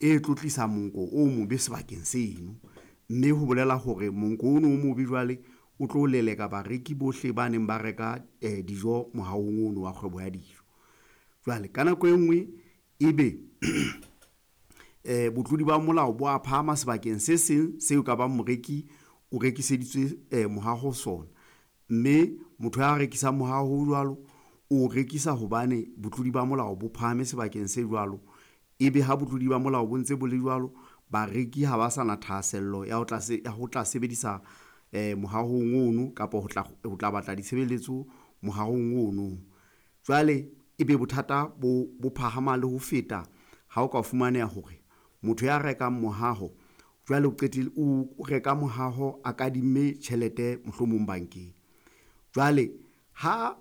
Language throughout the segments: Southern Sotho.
e tlo tlisa monko o mobe sebakeng seno, mme ho bolela hore monko ono o mobe jwale o tlo leleka bareki bohle ba neng ba reka dijo mohahong ono wa kgwebo ya dijo. Jwale ka nako e nngwe ebe botlodi ba molao bo a phahama sebakeng se seng seo ka bang moreki o rekiseditswe mohaho sona, mme motho ya rekisang mohaho o jwalo o rekisa hobane botlodi ba molao bo phahame sebakeng se jwalo. Ebe ha botlodi ba molao bo ntse bo le jwalo, bareki ha ba sa na thahasello ya ho tla sebedisa mohahong ono kapa ho tla batla ditshebeletso mohahong ono. Jwale ebe bothata bo phahama le ho feta ha o ka fumaneha hore motho ya rekang mohaho jwale o reka mohaho a kadimme tjhelete mohlomong bankeng. Jwale ha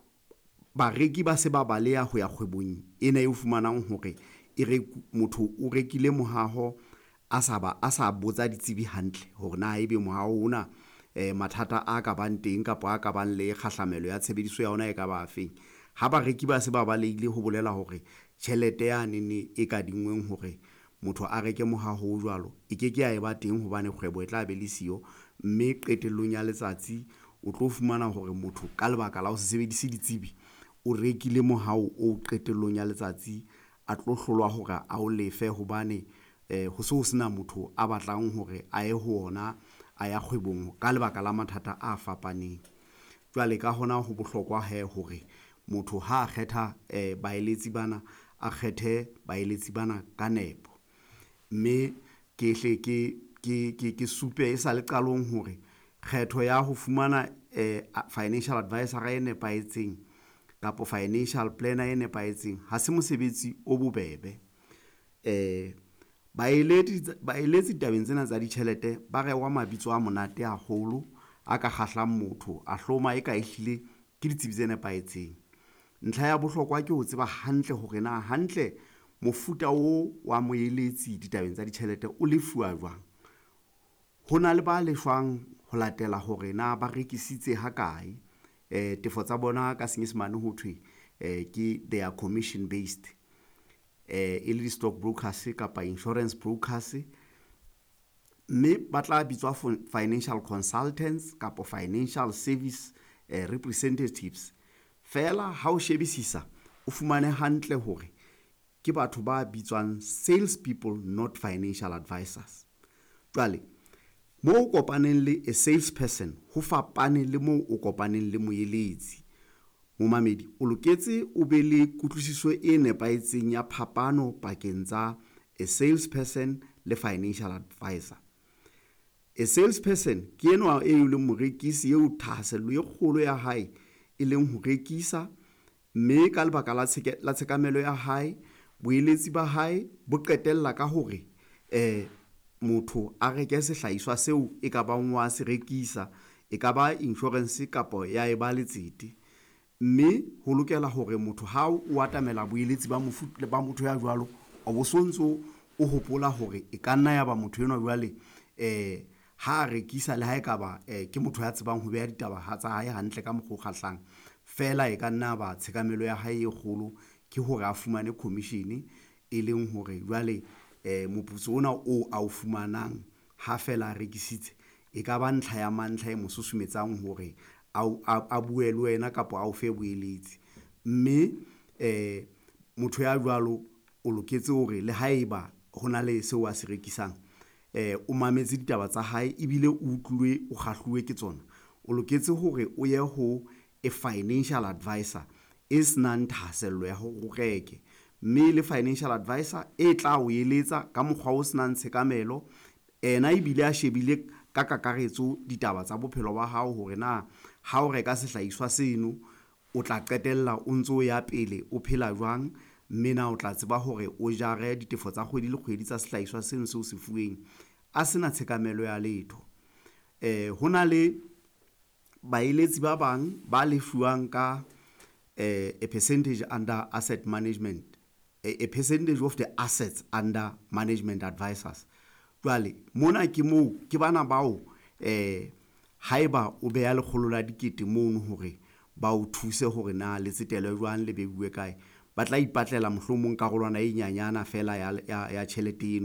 bareki ba se ba baleha ho ya kgwebong ena eo fumanang hore e motho o rekile mohaho a sa botsa ditsebi hantle hore na ebe mohaho ona mathata a ka bang teng kapa a ka bang le kgahlamelo ya tshebediso ya ona e ka ba afeng. Ha bareki ba se ba balehile ho bolela hore tjhelete yanene e kadinngweng hore motho a reke mohaho o jwalo e ke ke ya eba teng hobane kgwebo e tla be le siyo, mme qetellong ya letsatsi o tlo fumana hore motho ka lebaka la ho se sebedise ditsebi o rekile mohaho o qetellong ya letsatsi a tlo hlolwa hore a o lefe hobane ho se ho sena motho a batlang hore a ye ho ona a ya kgwebong ka lebaka la mathata a fapaneng. Jwale ka hona ho bohlokwa hee hore motho ha a kgetha baeletsi bana, a kgethe baeletsi bana ka nepo, mme ke hle ke supe e sale qalong hore kgetho ya ho fumana financial advisor e nepahetseng kapa financial planner e nepahetseng ha se mosebetsi o bobebe. Baeletsi tabeng tsena tsa ditjhelete ba rehwa mabitso a monate haholo, a ka kgahlang motho a hloma e ka ehlile ke ditsebi tse nepahetseng. Ntlha ya bohlokwa ke ho tseba hantle hore na hantle mofuta o wa moeletsi ditabeng tsa ditjhelete o lefuwa jwang. Ho na le ba lefang ho latela hore na ba rekisitse ha kae, tefo tsa bona ka Senyesemane ho thwe ke they are commission based, e le di-stock brokers kapa insurance brokers, mme ba tla bitswa financial consultants kapa financial service representatives. Feela ha o shebisisa o fumane hantle hore ke batho ba bitswang sales people, not financial advisors. Jwale moo o kopaneng le a sales person ho fapane le moo o kopaneng le moeletsi. Momamedi o loketse o be le kutlwisiso e nepahetseng ya phapano pakeng tsa a sales person le financial advisor. A sales person ke enwa e leng morekisi eo thahasello e kgolo ya hae e leng ho rekisa, mme ka lebaka la tshekamelo ya hae boeletsi ba hae bo qetella ka hore motho a reke sehlahiswa seo e ka bang wa se rekisa, e ka ba insurance kapa ya e ba letsete, mme ho lokela hore motho ha o atamela boeletsi ba ba motho ya jwalo o bo sontso o hopola hore e ka nna ya ba motho enwa jwale ha rekisa le ha ekaba ke motho ya tsebang ho beha ditaba tsa hae hantle ka mokgwa o kgahlang, feela e ka nna ba tshekamelo ya hae e kgolo ke hore a fumane commission, e leng hore jwale moputso ona oo ao fumanang ha feela a rekisitse e ka ba ntlha ya mantlha e mo susumetsang hore a bue le wena kapa a o fe boeletsi, mme motho ya jwalo o loketse hore le haeba hona le seo a se rekisang o mametse ditaba tsa hae ebile o utlwile o kgahluwe ke tsona, o loketse hore o ye ho a financial advisor e senang thahasello ya hore o reke, mme le financial advisor e tla o eletsa ka mokgwa o senang tshekamelo ena ebile a shebile ka kakaretso ditaba tsa bophelo ba hao hore na ha o reka sehlahiswa seno o tla qetella o ntso ya pele o phela jwang, mme na o tla tseba hore o jare ditefo tsa kgwedi le kgwedi tsa sehlahiswa seno seo se fuweng a sena tshekamelo ya letho. Ho na le baeletsi ba bang ba lefuwang ka a percentage under asset management, a percentage of the assets under management advisors. Jwale mona ke moo ke bana bao haeba o beha 100 la dikete mono hore ba o thuse hore na le tsetelwe jwang le beuwe kae, ba tla ipatlela mohlomong karolwana e nyenyana fela ya tjhelete eno.